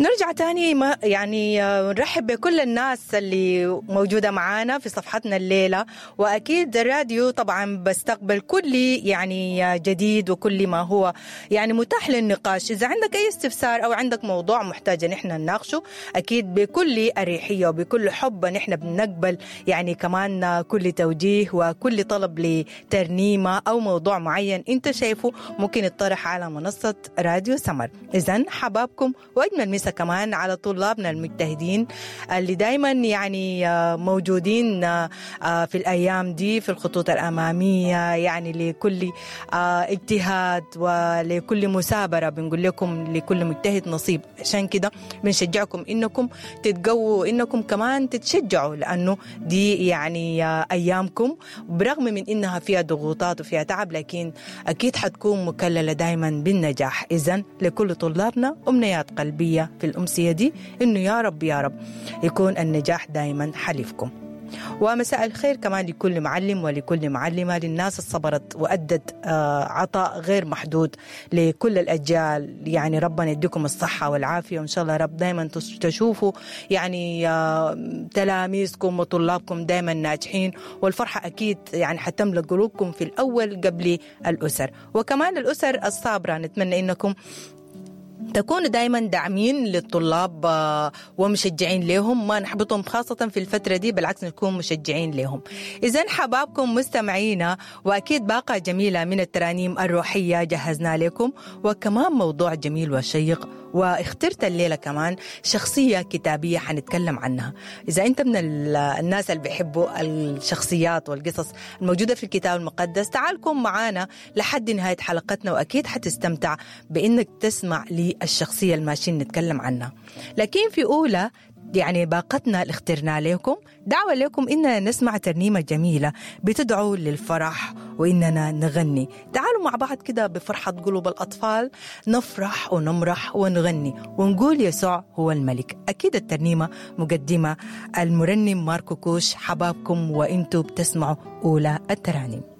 نرجع تاني ما يعني نرحب بكل الناس اللي موجودة معانا في صفحتنا الليلة، وأكيد الراديو طبعا بستقبل كل يعني جديد وكل ما هو يعني متاح للنقاش. إذا عندك أي استفسار أو عندك موضوع محتاج نحن نناقشه، أكيد بكل أريحية وبكل حب نحن بنقبل يعني كمان كل توجيه وكل طلب لترنيمة أو موضوع معين أنت شايفه ممكن يطرح على منصة راديو سمر. إذن حبابكم، وأجمل مسا كمان على طلابنا المجتهدين اللي دايما يعني موجودين في الأيام دي في الخطوط الأمامية، يعني لكل اجتهاد ولكل مثابرة بنقول لكم لكل مجتهد نصيب. عشان كده بنشجعكم إنكم تتقووا، إنكم كمان تتشجعوا، لأنه دي يعني أيامكم برغم من إنها فيها ضغوطات وفيها تعب، لكن أكيد حتكون مكللة دايما بالنجاح. إذن لكل طلابنا أمنيات قلبية في الأمسية دي إنه يا رب يا رب يكون النجاح دايما حليفكم. ومساء الخير كمان لكل معلم ولكل معلمة، للناس الصبرت وأدت عطاء غير محدود لكل الأجيال. يعني ربنا يديكم الصحة والعافية، وإن شاء الله رب دايما تشوفوا يعني تلاميذكم وطلابكم دايما ناجحين، والفرحة أكيد يعني حتملأ قلوبكم في الأول قبل الأسر. وكمان الأسر الصابرة نتمنى إنكم تكونوا دايما داعمين للطلاب ومشجعين لهم، ما نحبطهم خاصة في الفترة دي، بالعكس نكون مشجعين لهم. إذن حبابكم مستمعينا، وأكيد باقة جميلة من الترانيم الروحية جهزنا لكم، وكمان موضوع جميل وشيق، واخترت الليلة كمان شخصية كتابية حنتكلم عنها. إذا أنت من الناس اللي بيحبوا الشخصيات والقصص الموجودة في الكتاب المقدس، تعالكم معانا لحد نهاية حلقتنا، وأكيد حتستمتع بإنك تسمع للشخصية الماشيين نتكلم عنها. لكن في أولى يعني باقتنا اللي اخترنا لكم دعوة لكم إننا نسمع ترنيمة جميلة بتدعو للفرح وإننا نغني. تعالوا مع بعض كده بفرحة قلوب الأطفال نفرح ونمرح ونغني ونقول يسوع هو الملك. أكيد الترنيمة مقدمة المرنم ماركو كوش. حبابكم وإنتوا بتسمعوا أولى الترانيم.